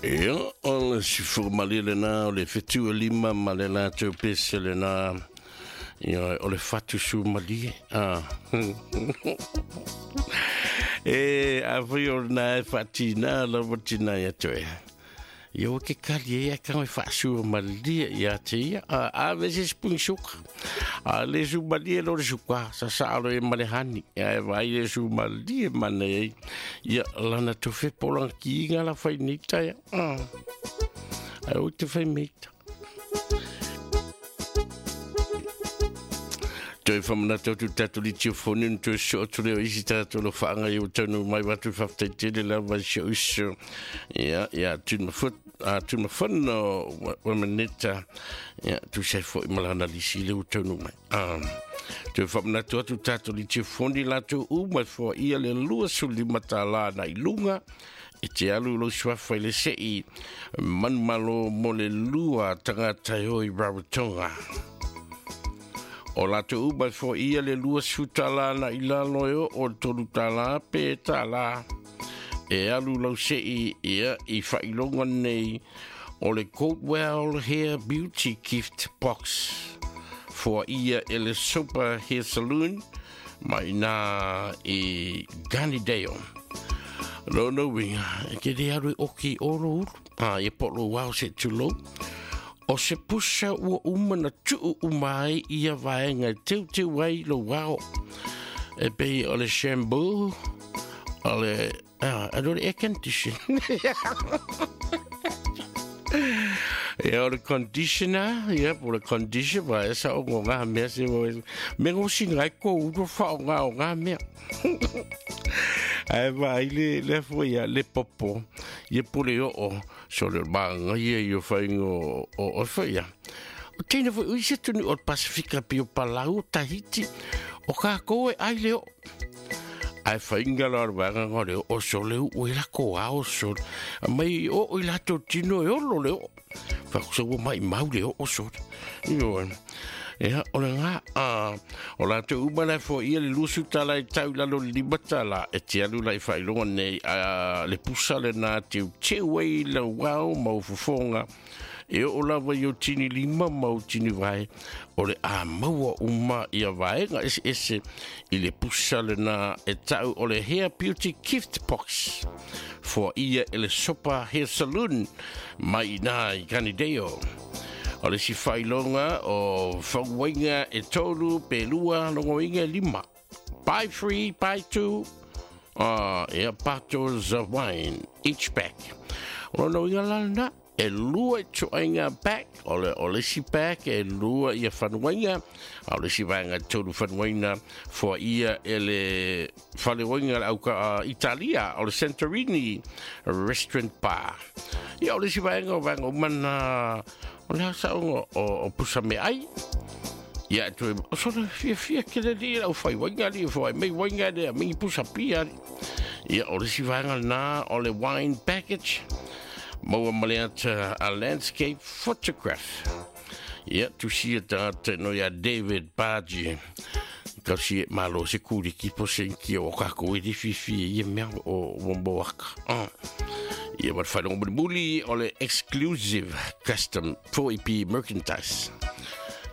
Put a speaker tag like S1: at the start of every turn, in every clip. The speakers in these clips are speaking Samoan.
S1: Ia, o le sifumalie lena o le 75 ma le latou pese lena. Ia, o le fatu sumalie. Ah. E, a fai o lena e faatina lava tina ia toe. Ia ua ke kali e ka mai faasua malie ia te ia. A ve se spung suka. A le su malie lo le suka. Sa sa alo e male hani. Ia e vai le su malie mana e. Ia lana to fe polang ki inga la fai nita ia. Ai o te fai meita. Toe whamanatu atu tātou li tio fone no toe so atu leo isi tātou lo whaanga i o taunu mai watu whaftai tele la vai se uso. Ia, ia, tuna foot, a tuna whano wa maneta. Ia, tu se fo i malana lisi le o taunu mai. Toe whamanatu atu tātou li tio fone lātou u mai fo ia le lua suli matala na i lunga. E te alu lo suafa i le sei manumalo mo le lua tangata e hoi Rarotonga. O latou uma e foia le 20 tala na i lalo e o le 3 tala pe tala. E alu lau sei ia i whailonga nei o le Coldwell Hair Beauty Gift Box. Foa ia e le Super Hair Saloon mai nā i Gunneydale. Lona uiga, e te le alu e oki i olo ulu. A, ia po lo wao se tulou. O se pusa ua uma na tuu uma ai ia vaega e teuteu ai lou ao. E pei o le shampoo, o le, ah, a le air condition. Ia o le conditioner, ia po le condition, wa e sa o ngā mea se mo. Me ngosi ngai ko uru fa o ngā o ngā mea. Ai vai le le fo ia le popo, ia pule o o. So le maanga ia i o whainga o o whaia. O teina foi ui se tunu o Pasifika pi o Palau o Tahiti, o kākou e ai le o. Ai whainga la o wanga ngā le o so le u e lako ao so. Mai o o i lato tino e olo le o. Whakusa ua mai mau le o o so. Io Ia, o le ngā, a, o lātou uma la fo ia le 20 tala i tau lalo le 5 tala, e te alu la i whailonga nei, a, le pusa le nā teu teu ei lau wao mau fofonga, e o lava i o tini lima mau tini vai, o le a maua uma ia vaega ese ese i le pusa le nā e tau o le Hair Beauty Gift Box. Foa ia e le Sopa Hair Saloon mai nā i Kanideo. O le isi faailoga o fauaiga e 3 pe 2 logoiga e 5. Buy 3, buy 2, ia bottles of wine each pack. O lona uiga la lena, e 2 i toaiga pack, o le, o le isi pack e 2 ia fanuaiga, a o le isi vaega e 3 fanuaina foa ia e le faleoiga le auka Italia, o le Santorini Restaurant Bar. Ia o le isi vaega o vaega uma na O le asaonga o pusa me ai. Ia e toe, o sona fia fia ke le li lau whai wainga li, whai mei wainga le, mingi pusa pia li. Ia o le si vaenga nā o le wine package, maua ma le ata a landscape photograph. Ia, tusia tāta no ia David Bargi. Kau si e malo se kūriki po se inki o kako e di fifi e ia mea o wamboaka. Ia ma le faailoga mulimuli o le exclusive custom 4EP merchandise.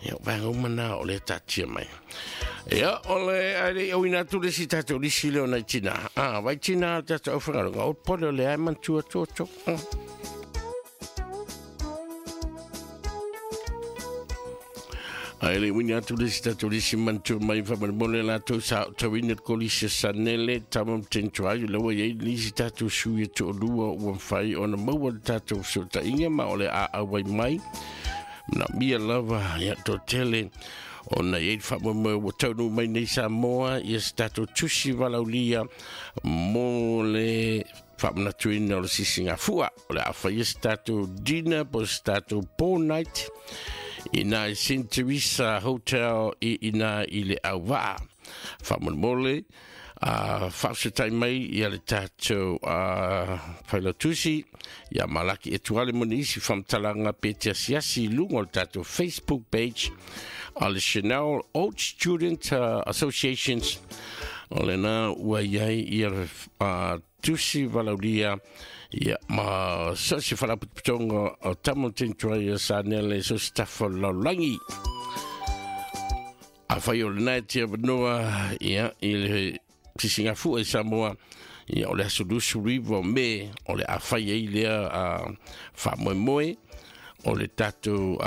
S1: Ia, o vaega uma na o le taatia mai. Ia, o le ai le auina atu le si tātou lisi leo nai tina. Ah, vai tina tātou au whangarunga. O pole o le ai mantua tō tō. Ai le wini atu le si tātou lisi mantua mai whamarimole lātou sa o tauina le kolisi sanele tamam tentu ai lawa iai lisi tātou sui e to'olua ua mawhai ona maua le tātou fesootaiga ma o le a auai mai na mia lava ia tō tele ona iai le faamoemoe ua taunuu mai nei Samoa ia se tātou tusi valaulia mo le faamanatuina o le sisigafua o le a faia se tātou dinner po se tātou po night i nā i St. Teresa Hotel i ina i le auvaa. Faamolemole, a faafetai mai ia le tātou failautusi ia Malaki Etuale mo nisi faamatalaga pe te asiasi i luga o le tātou Facebook page a le Chanel Old Student Associations o lena ua i ai ia Tusi Valaulia, ia ma so se faalapotopotoga o Tamil Try Sanele, so se tafa o le lalolagi. Afai o lena e te avanoa, ia, i le sisigafua i Samoa, ia, o le aso 29 o Me o le a fai ai lea faamoemoe o le tatou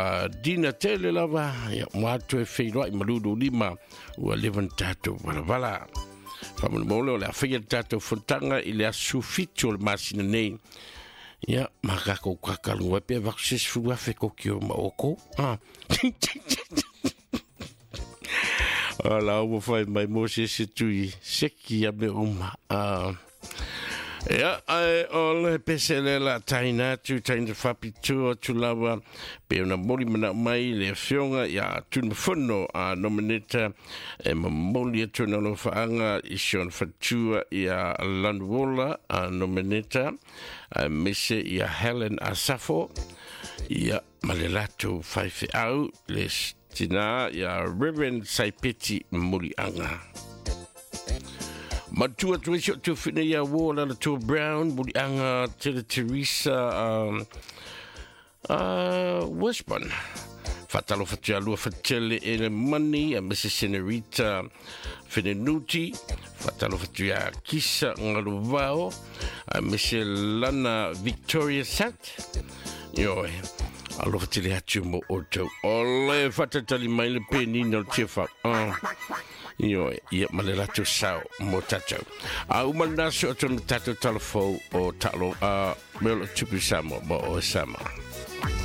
S1: dina tele lava, ia, mo atu e feiloai ma lulu lima ua leva na tatou valavala. Faamolemole o le a faia le tatou fonotaga i le aso 17 o le masina nei, ia, ma kakou kakaluga ai pe avatu se 10,000 koki o ma oko. Ah. Ala ua fai mai mo se se tui seki a me uma. Ah. Ia, ae o le pese le la taina atu, taina faapitoa atu lava, pe ona moli manao mai le afioga ia Tunumafono a Nomeneta e momoli atu ona alofaaga i si ona faletua ia Lanuola a Nomeneta, aemaise ia Helen Asafo, ia ma le latou faifeau le tina ia Reverend Saipeti Muliaga. Matua atu ai si o tuafina ia Ward Alatua Brown, Muliaga Tele Teresa Westburn. Faatalofa atu ia lua Fatele e le Mani, a Mrs. Senorita Fenenuti. Faatalofa atu ia Kisa Ngaluvao, a Mrs. Lana Victoria Sat. Ioe, alofa tele atu mo outou. O le fatatali mai le penina o le tiafau. Ioe, ia ma le latou sao mo tatou. A uma lena, so atu na tatou talafou o talo a me o lo tupu Samoa ma o Samoa.